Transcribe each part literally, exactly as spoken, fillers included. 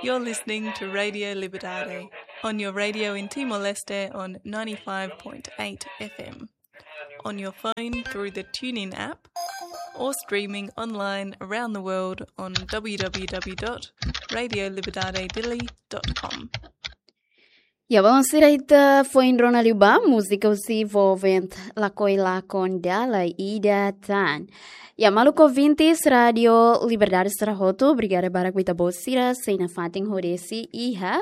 You're listening to Radio Liberdade on your radio in Timor-Leste on ninety-five point eight F M, on your phone through the TuneIn app, or streaming online around the world on w w w dot radio liberdade dili dot com. Ya, bom, sira ita foin rona liu ba múzika husi Volvent, Lakohi Lakon Dala Ida Tan. Ya, maluk ouvintes Rádio Liberdade sira hotu, obrigada barak ba ita-boot sira sei nafatin hodi sei iha,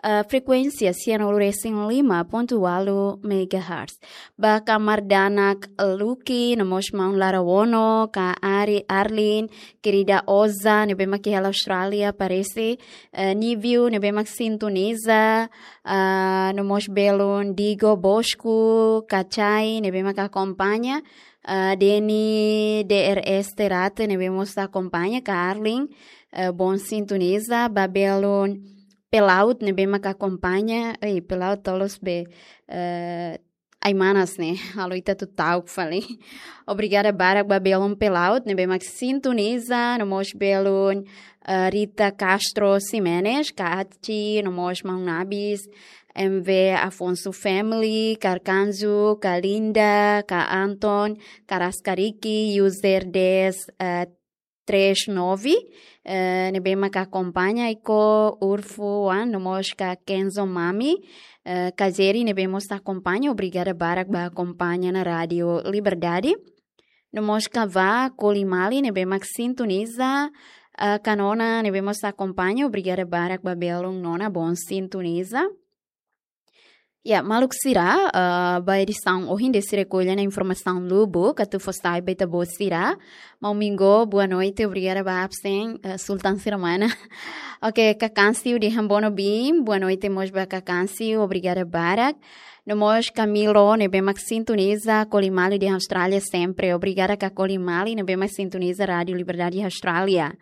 eh, frekuénsia sianulu resin lima pontu ualu megahertz. Ba kamar danak Luki, no mós maun Lara Wono, ka Ari, Arlin, kerida Oza, ne'ebé mak iha Austrália, parese, eh, Niviu, ne'ebé mak sintoniza, ah, no mós belun Digo Bosco, Kachai, ne'ebé mak akompaña, ah, Deni D R S Terate, ne'ebé mós akompaña, ka Arlin, eh, bon sintoniza, ba belun Pelaut, ne'ebé mak akompaña, ei, Pelaut tolos be, eh, ai manas ne'e, halo ita atu ta'uk fali. Obrigada barak ba belun Pelaut, ne'ebé mak sintoniza, no mós belun, eh, Rita Castro Ximenes, ka Achi, no mós maun Nabis, M V Afonso Family, ka Arkanjo, ka Linda, ka Anton, ka Raskariki, user dez, eh, três nove, eh, ne'ebé mak akompaña, Iko Urfu Wan, no mós ka Kenzo Mami, eh, ka Jerry, ne'ebé mós akompaña, obrigada barak ba akompaña ona Rádio Liberdade. No mós ka Vá Kolimali, ne'ebé mak sintoniza, eh, ka Nona, ne'ebé mós akompaña, obrigada barak ba belun Nona, bon sintoniza. Ya, maluk sira, eh, ba edisaun ohin de'it sira ko'alia ona informasaun lubuk atu fó sai ba ita-boot sira. Maun Mingo, boa noite, obrigada ba absen, eh, Sultan sira mana. Oke, Kakansiu dehan bono bim, boa noite mós ba Kakansiu, obrigada barak. No mós Camilo, ne'ebé mak sintoniza, Kolimali dehan Austrália sempre, obrigada ka Kolimali, ne'ebé mak sintoniza Rádio Liberdade Austrália.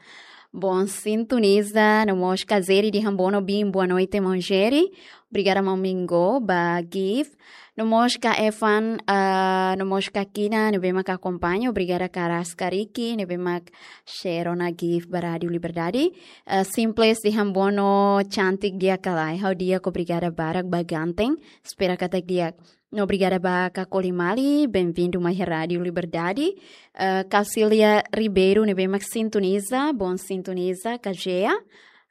Bon sintoniza, no mós ka Jerry dehan bono bim, boa noite, maun Jerry. Obrigada, maun Mingo, ba gift. No mós ka Evan, ah, no mós ka Kina, ne'ebé mak akompaña. Obrigada ka Raskariki, ne'ebé mak share ona gift ba Rádio Liberdade. Ah, Simples dehan bono, cantik di'ak ka lae? Ha'u di'ak, obrigada barak ba ganteng. Espera katak di'ak. No obrigada ba ka Kolimali, bem-vindo mai Rádio Liberdade. Ah, Caucilia Ribeiro, ne'ebé mak sintoniza, bon sintoniza, ka Gea.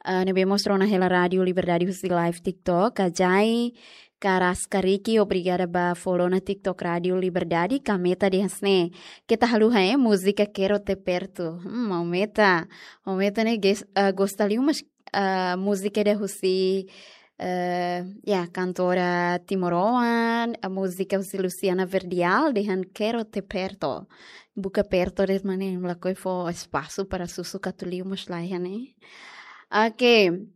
Ah, ne'ebé mós rona hela Rádio Liberdade husi live TikTok, ka Jai, ka Raskariki, obrigada ba follow ona TikTok Rádio Liberdade, ka Meta dehan hanesan ne'e. Keta haluha, eh, múzika Quero Te Perto. Hmm, maun Meta. Maun Meta ne'e ges-, ah, gosta liu, mas, ah, múzika ida husi, eh, ya, kantora timoroan, ah, múzika husi Luciana Verdial, dehan Quero Te Perto. Buka perto de'it maun ne'e, lakohi fó espasu para susuk atu liu mós laiha ne'e. Oke.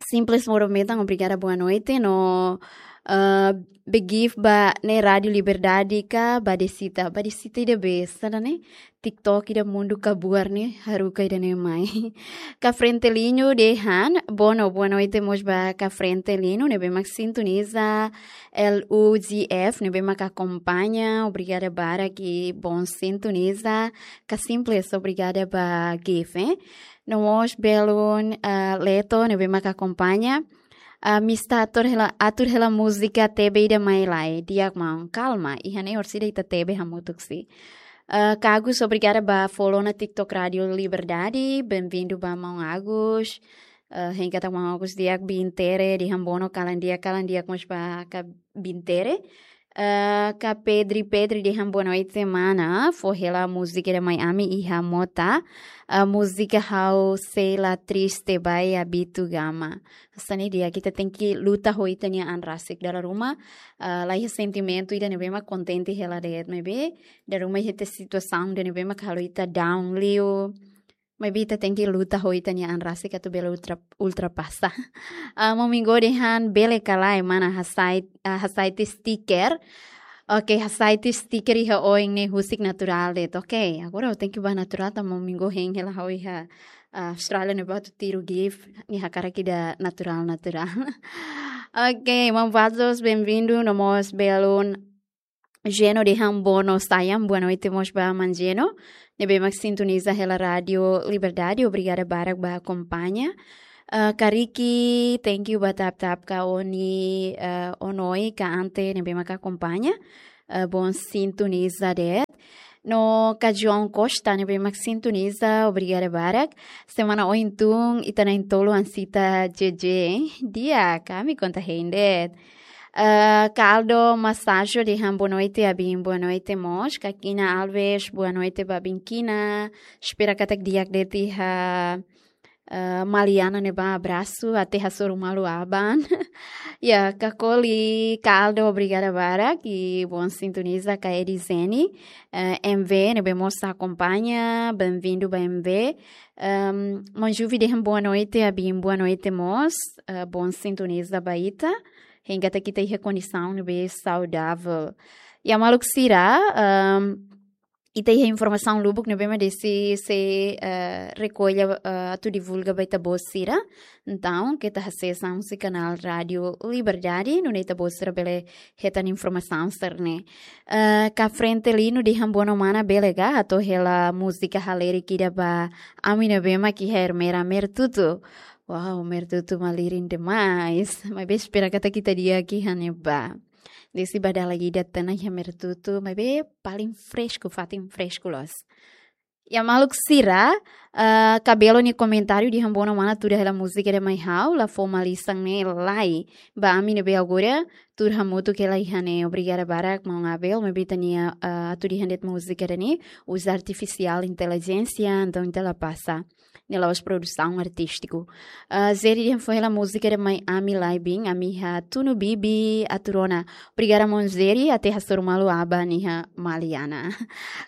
Simples moro metan, obrigada, boa noite. No, ah, be gift ba ne'e Rádio Liberdade ka Badesita. Badesita ida be, hanesan ne'e? TikTok ida mundu kabuar ne'e, haruka ida-ne'e mai. Ka Frentelinho dehan bono, boa noite mós ba ka Frentelinho, ne'ebé mak sintoniza, L U G F, ne'ebé mak akompaña, obrigada barak i bon sintoniza, ka Simples, obrigada ba gift, eh. No mós belun, ah, Leto, ne'ebé mak akompaña. Ah, Mista atur hela, atur hela múzika T B ida mai lae, di'ak maun, kalma, iha ne'e orsida ita T B hamutuk si. Ah, ka Agus, obrigada ba follow ona TikTok Rádio Liberdade, bem-vindo ba maun Agus. Ah, hein katak maun Agus di'ak, Bintere dehan bono, kalan di'ak, kalan di'ak mós ba ka Bintere. Eh, ka Pedri, Pedri dehan boa noite mana, fó hela múzika ida mai ami iha mota, eh, múzika Ha'u Sei La Triste ba Abito Gama. Hanesan ne'e di'ak, ita tenke luta ho ita-nia an rasik, dala ruma, eh, laiha sentimentu ida ne'ebé mak kontente hela de'it, maibé dala ruma iha ita situasaun ida ne'ebé mak halo ita down liu. Maibé ita tenke luta ho ita-nia an rasik atu bele ultra-, ultrapasa. Ah, maun Mingo dehan bele ka lae mana hasai-, ah, hasai tiha stiker. Oke, hasai tiha stiker iha oin ne'e husik naturál de'it. Oke, agora ha'u tenke ba naturál tanba maun Mingo hein hela ha'u iha, ah, Austrália ne'ebá atu tiru gift, nia hakarak ida naturál, naturál. Oke, maun Vazos, bem-vindo, no mós belun Geno dehan bono sayang, boa noite mós ba maun Geno. Ne'ebé mak sintoniza hela Rádio Liberdade, obrigada barak ba akompaña. Eh, Kariki, thank you ba tap-tap ka Oni, eh, Onoi ka Ante ne'ebé mak akompaña. Eh, bon sintoniza de'it. No ka João Costa ne'ebé mak sintoniza, obrigada barak. Semana ohin tun ita na'in-tolu ansita J J, eh? Di'ak, ami konta hein de'it. Eh, ka Aldo Masajo dehan boa noite, Abin, boa noite mós. Ka Kina Alves, boa noite ba Abin Kina. Espera katak di'ak de'it iha, eh, Maliana ne'ebá, abrasu, até hasoru malu aban. Ya, ka Koli, ka Aldo, obrigada barak. I bon sintoniza ka Edizeni, eh, M V, ne'ebé mós akompaña, bem-vindo ba M V. Ehm, Manjuvi dehan boa noite, Abin, boa noite mós. Eh, bon sintoniza ba ita. Hein katak ita iha kondisaun ne'ebé saudavel. Ya, maluk sira, ehm, ita iha informasaun lubuk ne'ebé mak desi sei, eh, rekolla, eh, atu divulga ba ita-boot sira. Entaun, keta hasees husi kanál Rádio Liberdade, nune'e ita-boot sira bele hetan informasaun sira-ne'e. Eh, ka Frente Lino dehan boa noite mana, bele ka hato'o hela múzika halerik ida ba ami ne'ebé mak iha Ermera, Mertutu. Wow, Mertutu malirin demais. Maibé espera katak ita di'ak iha ne'ebá. Desi ba dala ida tan ona iha Mertutu, maibé paling fresku, fatin fresku loos. Ya maluk sira, eh, ka Belo nia komentáriu dehan boa noite mana, tuda hela múzika ida mai ha'u, la fó malisan ne'e lai. Ba ami ne'ebé agora, tuur hamutuk hela iha ne'e, obrigada barak, maun Abel, maibé ita-nia, eh, atu dehan de'it múzika ida-ne'e, uza artifisiál intelijénsia, entaun ita la pasa. Ne'e la'ós produsaun artístiku. Ah, Zeri dehan fó hela múzika ida mai ami lai, Bin, ami iha Tunu Bibi, atu rona. Obrigada maun Zeri, até hasoru malu aban iha Maliana.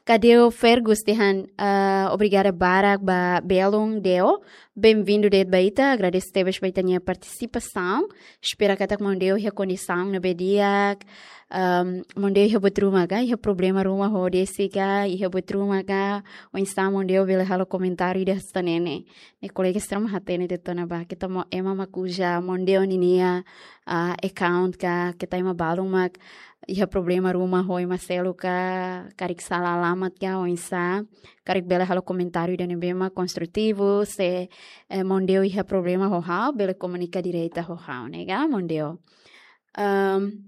Ka Deo Fergus dehan, ah, obrigada barak ba belun Deo. Bem-vindo de'it ba ita, agradese tebes ba ita-nia partisipasaun. Espera katak maun Deo iha kondisaun ne'ebé di'ak. Ehm, maun Deo iha buat ruma ka, iha problema ruma ho Desi ka, iha buat ruma ka, oinsá maun Deo bele halo komentáriu ida hanesan ne'e. Ne'e kolega sira mak hatene de'it ona ba, keta ema mak uza maun Deo ninia, ah, account ka, keta ema balun mak iha problema ruma ho ema seluk ka, karik sala alamat ka, oinsá, karik bele halo komentáriu ida ne'ebé mak konstrutivu, se, eh, maun Deo iha problema ho ha'u, bele komunika direta ho ha'u, ne'e ka, maun Deo. Ehm,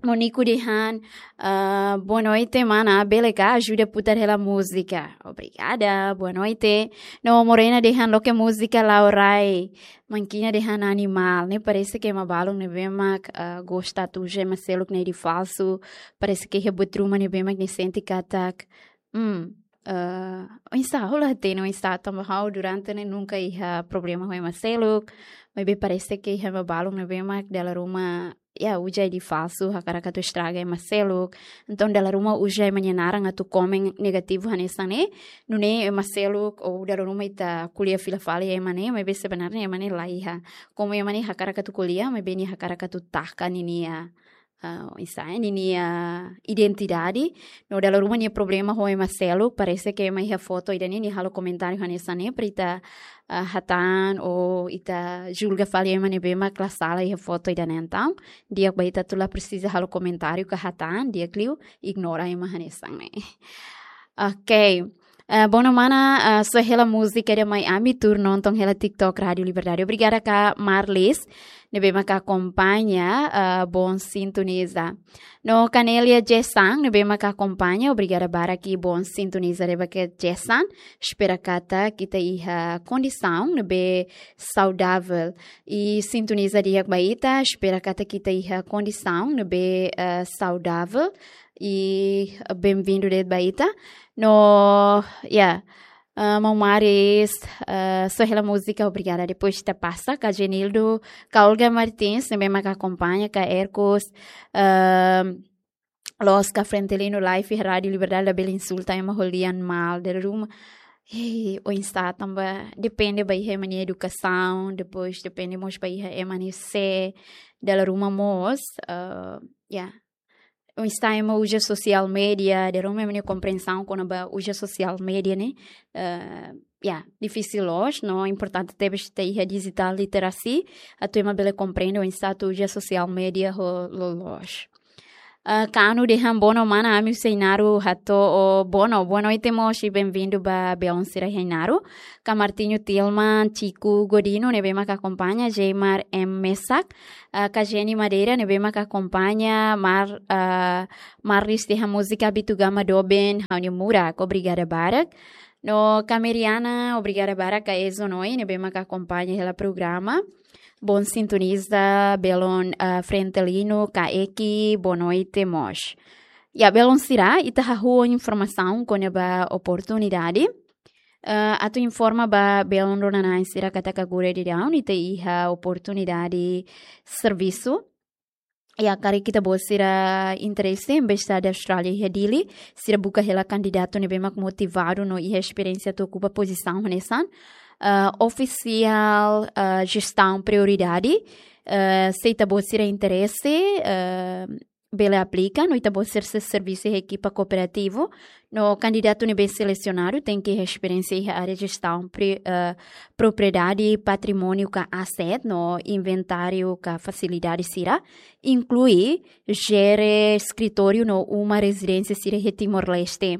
Moniku dehan, ah, boa noite, mana, bele ka ajuda putar hela múzika? Obrigada, boa noite. No Morena dehan loke múzika Laurai. Mankina dehan animál, ne'e parese ke ema balun ne'ebé mak, ah, gosta atu uza ema seluk ne'e ida falsu. Parese ke iha buat ruma ne'ebé mak nia sente katak. Hmm, eh, oinsá, ha'u la hatene oinsá, tanba ha'u durante ne'e nunka iha problema ho ema seluk, maibé parese ke iha ema balun ne'ebé mak dala ruma, ya, uza ida falsu, hakarak atu estraga ema seluk. Entaun dala ruma uza ema nia naran atu komen negativu hanesan ne'e, nune'e ema seluk, ou dala ruma ita ko'alia fila fali ema ne'e, maibé sebenarnya ema ne'e la iha. Komu ema ne'e hakarak atu ko'alia, maibé nia hakarak atu taka ninia, ah, oinsá, ninia identidade. No dala ruma nia problema ho ema seluk, parese ke ema iha foto ida-ne'e, nia halo komentáriu hanesan ne'e, para ita, ah, hatán ou ita julga fali ema ne'ebé mak la sala iha foto ida-ne'e, entaun di'ak ba ita atu la presiza halo komentáriu ka hatán, di'ak liu ignora ema hanesan ne'e. Ok. Eh, boa noite mana, eh, só hela múzika ida mai ami, tuur nonton hela TikTok Rádio Liberdade. Obrigada ka Marlis, ne'ebé mak akompaña, eh, bon sintoniza. No Canelia Jessan, ne'ebé mak akompaña, obrigada barak i bon sintoniza de'it ba ke Jessan. Espera katak ita iha kondisaun ne'ebé saudavel. I sintoniza di'ak ba ita, espera katak ita iha kondisaun ne'ebé, eh, saudavel. I bem-vindo de'it ba ita. No, ya. Ah, maun Maris, ah, só hela múzika, obrigada. Depois ita pasa ka Genildo, ka Olga Martins, ne'ebé mak akompaña, ka Ercos, ah, loos ka Frente Lino Live, Rádio Liberdade, labele insulta ema ho lian malu, dala ruma. Hey, oinsá tanba, depende ba iha ema nia edukasaun, depois depende mós ba iha ema nia sé, dala ruma mós, ah, ya. Oinsá ema uza sosiál média, dala ruma ema nia komprensaun kona-ba uza sosiál média ne'e, eh, ya, difisil loos, no importante tebes ita iha digital literacy, atu ema bele komprende oinsá atu uza sosiál média ho loloos. Ah, Kanu dehan bono mana, ami husi Ainaro hato'o bono, boa noite mós, bem-vindo ba belun sira iha Ainaro. Ka Martinho Tilman, Chico Godino, ne'ebé mak akompaña, Jeimar M Mesak, ah, ka Jenny Madeira, ne'ebé mak akompaña, Mar, ah, Marlis dehan múzika Abitugama Doben, ha'u-nia murak, obrigada barak. No ka Meriana, obrigada barak, ka Ezo Noi, ne'ebé mak akompaña hela programa. Bom sintoniza, belun, ah, Frentelino, ka Eki, boa noite mós. Ya, belun sira, ita hahú informasaun kona-ba oportunidade. Ah, atu informa ba belun rona-na'in sira katak agora daudaun ita iha oportunidade servisu. Ya, karik ita-boot sira interese, Embaixada Austrália iha Dili, sira buka hela kandidatu ne'ebé mak motivadu no iha esperiénsia atu okupa pozisaun hanesan, ah, ofisiál, ah, jestaun prioridade, ah, se ita-boot sira interese, ah, bele aplika, no ita-boot sira sei servisu iha ekipa kooperativu, no kandidatu ne'ebé selesionadu tenke iha esperiénsia iha área jestaun pri-, ah, propriedade, patrimóniu ka aset, no inventáriu ka fasilidade sira, inklui jere eskritóriu no uma rezidénsia sira iha Timor-Leste.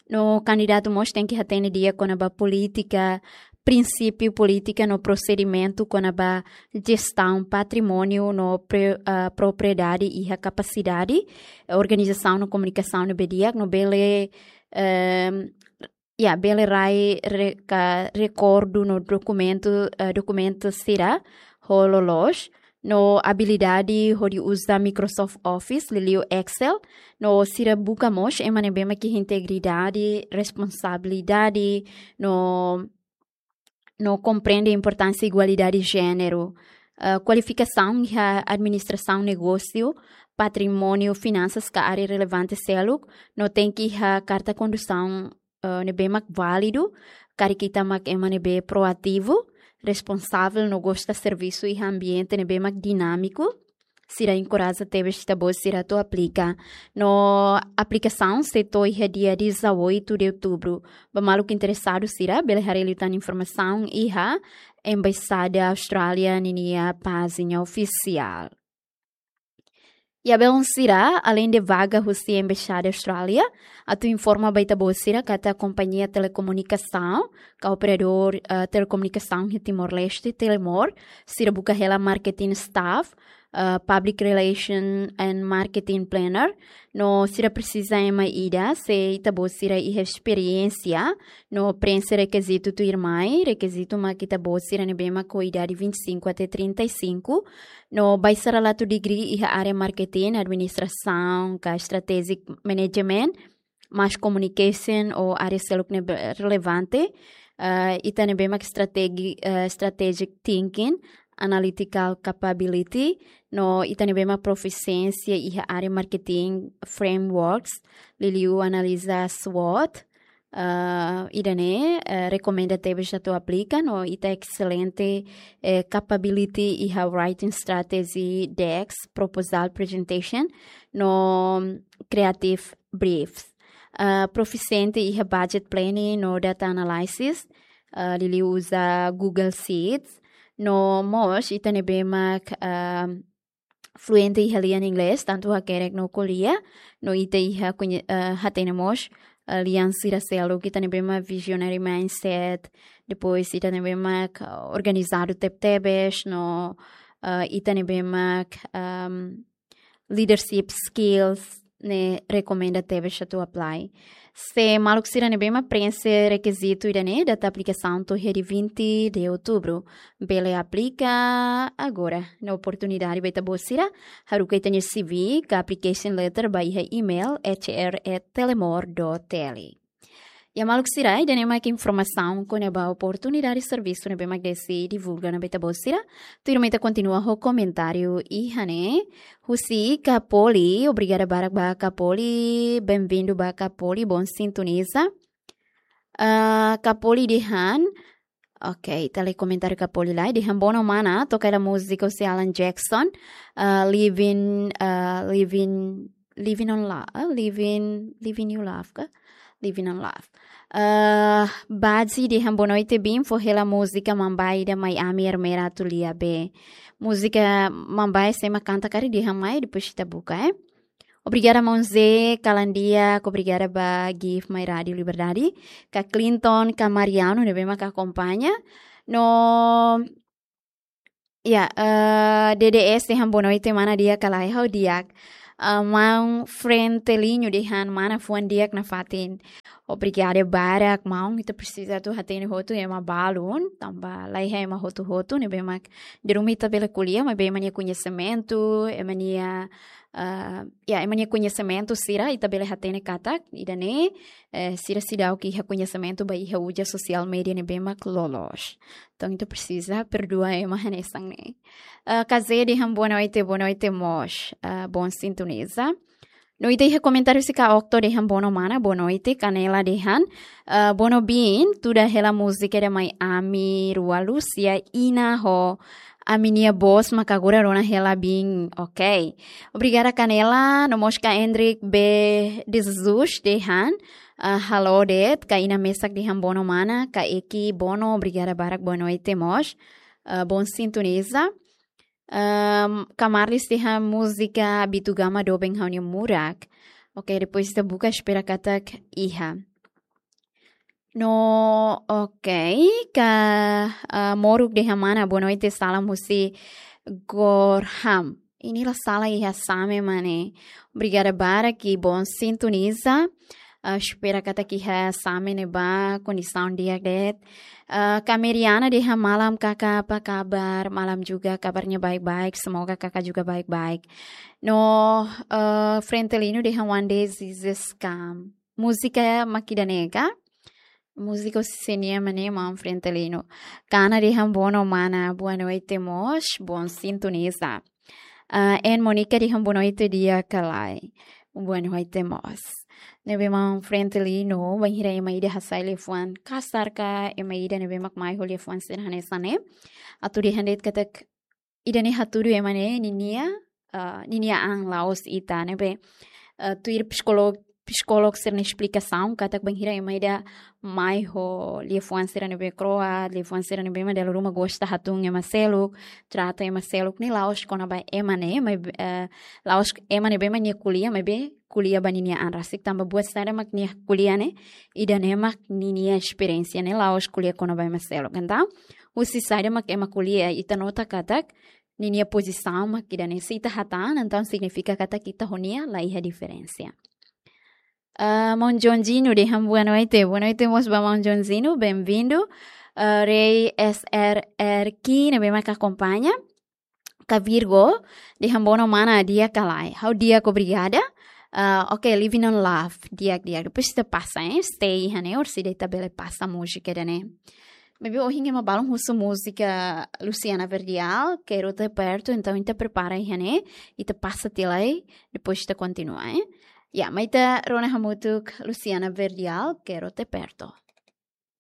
No kandidatu mós tenke hatene di'ak kona-ba polítika, prinsípiu polítika no prosedimentu kona-ba jestaun patrimóniu no pre-, ah, propriedade iha kapasidade, eh, organizasaun no komunikasaun ne'ebé di'ak, no bele, ehm, ya, bele rai re-, ka rekordu no dokumentu, eh, dokumentu sira ho loloos, no abilidade hodi uza Microsoft Office, liuliu Excel, no sira buka mós ema ne'ebé mak iha integridade, responsabilidade, no, no komprende importánsia igualdade de jéneru. Eh, kualifikasaun iha administrasaun negósiu, patrimóniu, finansas ka área relevante seluk, no tenke iha karta kondusaun, eh, ne'ebé mak válidu, karik ita mak ema ne'ebé proativu, responsavel no gosta servisu iha ambiente ne'ebé mak dinámiku, sira enkoraja tebes ita-boot sira atu aplika. No aplikasaun sei to'o iha dia dezoito de outubro. Ba maluk interesadu sira, bele haree liután informasaun iha Embaixada Austrália ninia pájina ofisiál. Ya belun sira, aleinde vaga husi Embaixada Austrália, atu informa ba ita-boot sira katak kompañia telekomunikasaun, ka operadór, eh, telekomunikasaun iha Timor-Leste, Telemor, sira buka hela marketing staff, eh, public relation and marketing planner, no sira presiza ema ida, se ita-boot sira iha esperiénsia, no prenxe rekizitu tuirmai, rekizitu mak ita-boot sira ne'ebé mak ho idade vinte e cinco até trinta e cinco, no baixa relatóriu degree iha área marketing, administrasaun, ka strategic management, mass communication ou área seluk ne'ebé relevante, eh, ita ne'ebé mak strategi-, eh, strategic thinking, analytical capability, no ita ne'ebé mak profisiénsia iha área marketing frameworks, liuliu analiza SWOT, eh, ida-ne'e, eh, rekomenda tebes atu aplika, no ita excelente, eh, capability iha writing strategy decks, proposal presentation, no creative briefs. Eh, profisiente iha budget planning no data analysis, eh, liuliu uza Google Sheets, no mós ita ne'ebé mak, eh, fluente iha lian inglés, tantu hakerek no ko'alia, no ita iha koñe-, eh, hatene mós, eh, lian sira seluk, ita ne'ebé mak visionary mindset, depois ita ne'ebé mak, eh, organizadu tebetebes, no, eh, ita ne'ebé mak, ehm, leadership skills, ne'e rekomenda tebes atu apply. Se maluk sira ne'ebé mak prenxe rekizitu ida-ne'e, data aplikasaun to'o iha dia vinte de outubro. Bele aplika agora. Ne'e oportunidade ba ita-boot sira, haruka ita-nia C V ka application letter ba iha email H R at telemor dot T L. Ya maluk sira, ida-ne'e mak informasaun kona-ba oportunidade servisu ne'ebé mak Desi divulga ona ba ita-boot sira. Tuirmai ita kontinua ho komentáriu iha ne'e. Husi Kapoli, obrigada barak ba Kapoli, bem-vindo ba Kapoli, bom sintoniza. Ah, Kapoli dehan, ok, ita lee komentáriu Kapoli lai, dehan bono mana, toka hela múzika husi Alan Jackson, ah, Living, ah, Living, Living on Love, ah, Living, Living You Love ka? Living on Love. Ah, Baji dehan boa noite, bin, fó hela múzika Mambae ida mai ami Ermera atu lia be. Múzika Mambae sé mak kanta karik dehan mai, depois ita buka, eh. Obrigada, maun Zé, kalan di'ak, obrigada ba Give My Rádio Liberdade, ka Clinton, ka Mariano, ne'ebé mak akompaña. No, ya, eh, D D S dehan boa noite, mana di'ak ka lae, ha'u di'ak. Eh, maun Frentelinho dehan mana fuan di'ak nafatin. Obrigada barak, maun, ita presiza atu hatene hotu ema balun, tanba laiha ema hotu-hotu, ne'ebé mak dala ruma ita bele ko'alia, maibé ema nia koñesimentu, ema nia, eh, ya, ema nia koñesimentu sira, ita bele hatene katak, ida-ne'e, eh, sira seidauk iha koñesimentu ba iha uza sosiál media ne'ebé mak loloos. Entaun, ita presiza perdua ema hanesan ne'e. Eh, Kazé dehan boa noite, boa noite mós. Eh, bom sintoniza. No ita iha komentáriu husi Ka Okto dehan boa noite mana, boa noite, Kanela dehan. Eh, boa noite, bin, tuda hela múzika ida mai ami rua Lúcia, Ina ho ami-nia bos mak agora rona hela bin. Ok. Obrigada, Kanela. No mós ka Hendrik B de Jesus dehan. Eh, halo de'it, ka Ina mesak dehan boa noite mana, ka Eki boa noite, obrigada barak, boa noite mós. Eh, bom sintoniza. Ehm, ka Marlis dehan múzika Bitu Gama doben ha'u-nia murak. Ok, depois ita buka, espera katak iha. No, ok, ka, eh, Moruk dehan mana, boa noite, salam husi Gorham. Ida-ne'e la sala iha Same mak ne'e. Obrigada barak, i bom sintoniza. Ah, espera katak iha Same ne'ebá kondisaun di'ak de'it. Ah, ka Meriana dehan malam, kaka, apa kabar? Malam juga, kabarnya baik-baik. Semoga kaka juga baik-baik. No, eh, Frentelinho dehan one day Jesus come. Múzika mak ida-ne'e ka? Múzika husi nia mana, maun Frentelinho. Kana dehan boa noite mana, boa noite mós, bom sintoniza. Ah, en Monica dehan boa noite di'ak ka lae. Boa noite mós. Ne'ebé maun Frentelinho, bainhira ema ida hasai liafuan kasar ka, ema ida ne'ebé mak mai ho liafuan sira hanesan ne'e. Atu dehan de'it katak ida-ne'e hatudu ema ne'e ninia, ah, ninia an la'ós ita ne'ebé. Ah, tuir psikólogu, psikólogu sira-nia esplikasaun katak bainhira ema ida mai ho liafuan sira ne'ebé kro'at, liafuan sira ne'ebé mak dala ruma gosta hatún ema seluk, trata ema seluk, ne'e la'ós kona-ba ema ne'e, maibé, eh, la'ós ema ne'ebé mak nia ko'alia, maibé ko'alia ba ninia an rasik, tanba buat saida mak nia ko'alia ne'e, ida-ne'e mak ninia esperiénsia, ne'e la'ós ko'alia kona-ba ema seluk. Entaun, husi saida mak ema ko'alia, ita nota katak ninia pozisaun mak ida-ne'e, se ita hatán, entaun signifika katak ita ho nia laiha diferensa. Ah, maun Joãozinho dehan boa noite. Boa noite mós ba maun Joãozinho, bem-vindo. Ah, Rei S R R Ki ne'ebé mak akompaña. Ka Virgo dehan boa noite mana, di'ak ka lae? Ha'u di'ak, obrigada. Ah, ok, Living on Love, di'ak, di'ak. Depois ita pasa, eh, stay iha ne'e, orsida ita bele pasa múzika ida-ne'e. Maibé ohin ema balun husu múzika Luciana Verdial, Quero Te Perto, entaun ita prepara iha ne'e, ita pasa tiha lai, depois ita kontinua, eh. Ya, mai ita rona hamutuk Luciana Verdial, Quero Te Perto.